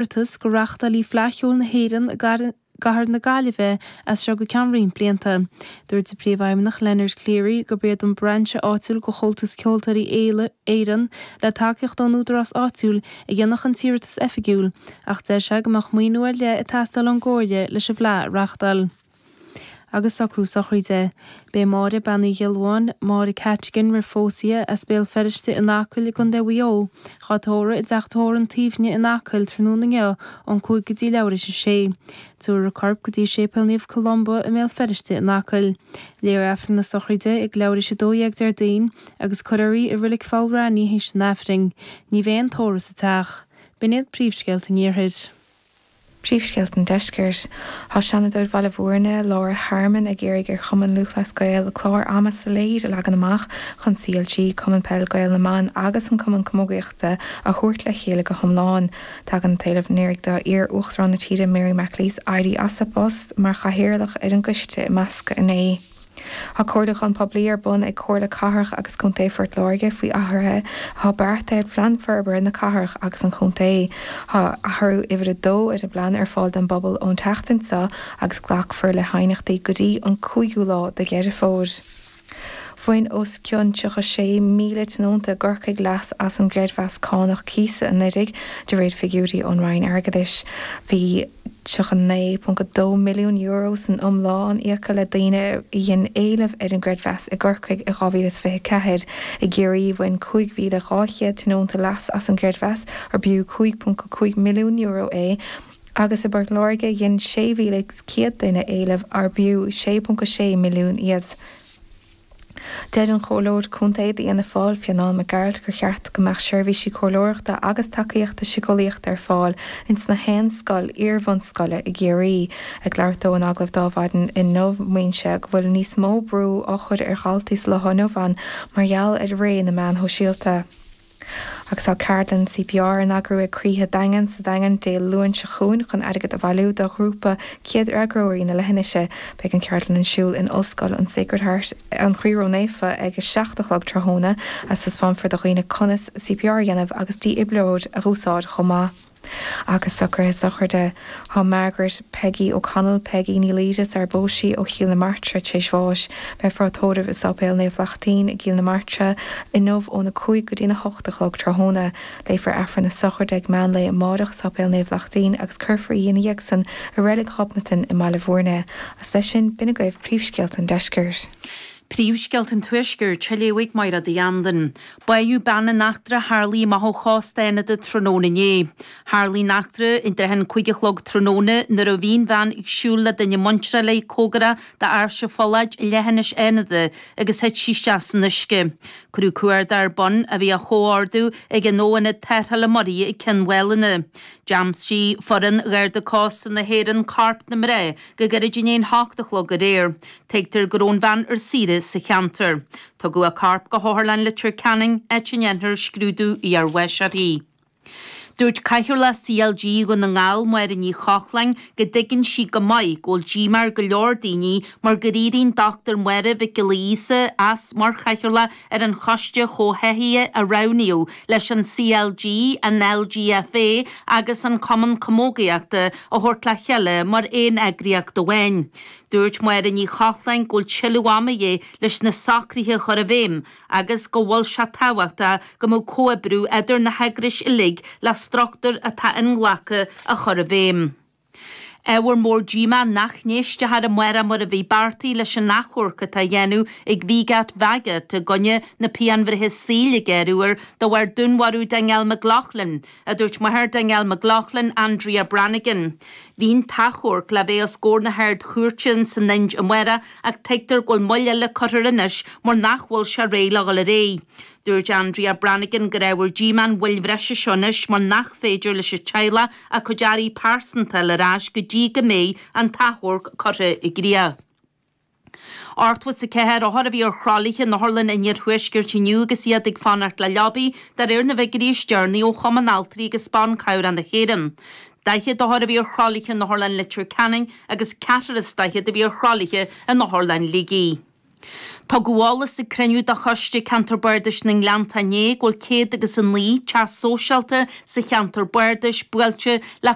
Iarratas go reáchtálfaí Fleadh Cheoil na hÉireann i gcathair na Gaillimhe as seo go ceann roinnt blianta. Dúirt an Príomhfheidhmeannach Leonard Cleary gurb iad an brainse áitiúil de Chomhaltas Ceoltóirí Éireann le tacaíocht ón údarás áitiúil a dhéanfadh an t-iarratas oifigiúil ach deir sé go mbeadh maoiniú ar leith ag teastáil ón gComhairle leis an bhFleadh a reáchtáil. Agus socrú sochraide. Beidh Máire Bean Uí Ghiolbháin, Máire Cattigan roimh phós í, as Béal Feirste in Acaill i gContae Mhaigh Eo, dhá tórramh i dteach tórraimh an tSuibhne in Acaill tráthnóna inniu ón 5 go dtí leathuair théis a sé. Tabharfar a corp go dtí Séipéal Naomh Columba i mBéal Feirste in Acaill. Léifear Aifreann na sochraide ag leathuair théis 12 Déardaoin agus cuirfear í i Reilig Pholl Raithní théis an Aifrinn. Ní bheidh aon tórramh sa teach. B'in iad príomhscéalta an Iarthair. Príomhscéalta an Deiscirt. Tá Seanadóir Bhaile Bhúirne, Laura Harmon, ag iarraidh ar Chumann Lúthchleas Gael clár ama soiléir a leagan amach chun CLG, Cumann Peile Gael na mBan agus an Cumann Camógaíochta a thabhairt le chéile go hiomlán. Tagann an t-éileamh i ndiaidh do iar-Uachtarán na tíre Mary McAleese éirí as a post mar chathaoirleach ar an gcoiste imeasctha inné. Tá comhairliúchán poiblí ar bun ag Comhairle Cathrach agus Contae Phort Láirge faoi athruithe atá beartaithe ar Phlean Forbartha na Cathrach agus an Chontae. Tá athrú uimhir a dó ar an bplean ar fáil don bpobal ón tseachtain seo agus glacfar le haighneachtaí go dtí an 5ú lá de Dheireadh Fómhair. Bhain os cionn 36,000 tionónta i gCorcaigh leas as an gcreidmheas cánach cíosa anuraidh, de réir figiúirí ón Roinn Airgeadais. Bhí. €39.2 milliún san iomlán íoctha le daoine a dhein éileamh ar an gcreidmheas i gCorcaigh i 2024. I gCiarraí, bhain 5,200 tionónta leas as an gcreidmheas, ar b'fhiú €5.5 milliún é, agus i bPort Láirge, dhein 6,100 duine éileamh ar b'fhiú €6.6 milliún iad. Deir an Comhairleoir Contae d'Fhianna Fáil, Fionán Mac Gearailt, gur cheart go mbeadh seirbhísí comhairleoireachta agus tacaíochta siceolaíochta ar fáil ins na haon scoil iar-bhunscoile i gCiarraí. Ag labhairt dó in agallamh d'Adhmhaidin inniu, maíonn sé go bhfuil níos mó brú á chur ar dhaltaí sa lá inniu ann mar gheall ar ré na meán shóisialta. Agus tá ceardlann CPR á n-eagrú ag Croíthe Daingean sa Daingean Dé Luain seo chugainn chun airgead a bhailiú do ghrúpa Céad Fhreagróirí na Leithinise. Beidh an cheardlann ar siúl in Ollscoil an Sacred Heart, An Chroí Ró-Naofa ag 7 a chlog tráthnóna. Taispeánfar do dhaoine conas CPR a dhéanamh agus dífhibrileoir a dh'úsáid chomh maith. Agus socruithe sochraide. Tá Margaret Peggy O'Connell, Peggy Ní Laoide sar a phós sí ó Chill na Martra tar éis bháis. Beifear á tórramh i Sáipéal Naomh Lachtaín i gCill na Martra inniu óna 5 go dtína 8 a chlog tráthnóna. Léifear Aifreann na sochraide ag meán lae amáireach i Sáipéal Naomh Lachtaín agus cuirfear í ina dhiaidh san i Reilig Ghobnatan i mBaile Bhúirne. Agus leis sin, b'in agaibh príomhscéalta an deiscirt. Príomhscéalta an Tuaiscirt á léamh ag Máire Uí Anluain. Báitheadh bean in eachtra a tharlaigh amach ó chósta Fhánada tráthnóna inné. Tharlaigh an eachtra i dtrátha an 5 a chlog tráthnóna nuair a bhí an bhean ag siúl le duine muinteartha léi cóngarach d'Áirse Pholláid i leithinis Fhánada agus thit sí isteach san uisce. Cuireadh cuardach ar bun a bhí á chomhordú ag an Fho-Ionad Tarrthála Muirí ag Ceann Mhálanna. D'aimsigh foireann Gharda Cósta na hÉireann corp na mná go gairid i ndiaidh an hocht a chlog aréir. Tuigtear go raibh an bhean ar saoire sa cheantar. Tugadh a corp go hOtharlann Leitir Ceanainn, áit a ndéanfar scrúdú iarbháis uirthi. Dúirt Cathaoirleach CLG Dhún na nGall, Máire Ní Chochláin, go dtuigeann sí go maith go bhfuil díomá ar go leor daoine mar gur éirigh an Dr Máire Mhic Giolla Íosa as mar chathaoirleach ar an choiste chomhtháthaithe a roghnaíodh leis an CLG, an LGFA agus an Cumann Camógaíochta a thabhairt le chéile mar aon eagraíocht amháin. Dúirt Máire Ní Chochláin go bhfuil tuilleadh ama de dhíth leis na socruithe a chur i bhfeidhm agus go bhfuil sé tábhachtach go mbeadh comhoibriú idir na heagrais uilig le struchtúr atá inghlactha a chur i bhfeidhm. Ábhar mór díomá nach n-éistfear amárach mar a bhí beartaithe leis an achomharc atá á dhéanamh ag VGAT VAGAT i gcoinne na pianbhreithe saoil a gearradh air de bharr dúnmharú Danielle McLaughlin, a dúirt máthair Danielle McLaughlin, Andrea Brannigan. Bhí an t-achomharc le bheith os comhair na hArd-Chúirte san Ind amárach ach tuigtear go bhfuil moill eile curtha air anois mar nach bhfuil sé réidh le dhul ar aghaidh. Dúirt Andrea Brannigan gur ábhar díomá an mhoill bhreise seo anois mar nach féidir leis an teaghlach a cuid earraí pearsanta a fháil ar ais go dtí go mbeidh an t-achomharc curtha i gcrích. 84 othar a bhí ar thralaithe in otharlann an iarthuaiscirt inniu agus iad ag fanacht le leabaí, de réir na bhfigiúirí is deireanaí ó Chumann Altraí agus Ban Cabhrach na hÉireann. 40 othar a bhí ar thralaithe in Otharlann Leitir Ceanainn agus ceathrar is daichead a bhí ar thralaithe in Otharlann Shligigh. Tugadh eolas ag cruinniú de Choiste Ceantar Bardais na nGleanntach inné go bhfuil 109 teach sóisialta sa cheantar bardais buailte le.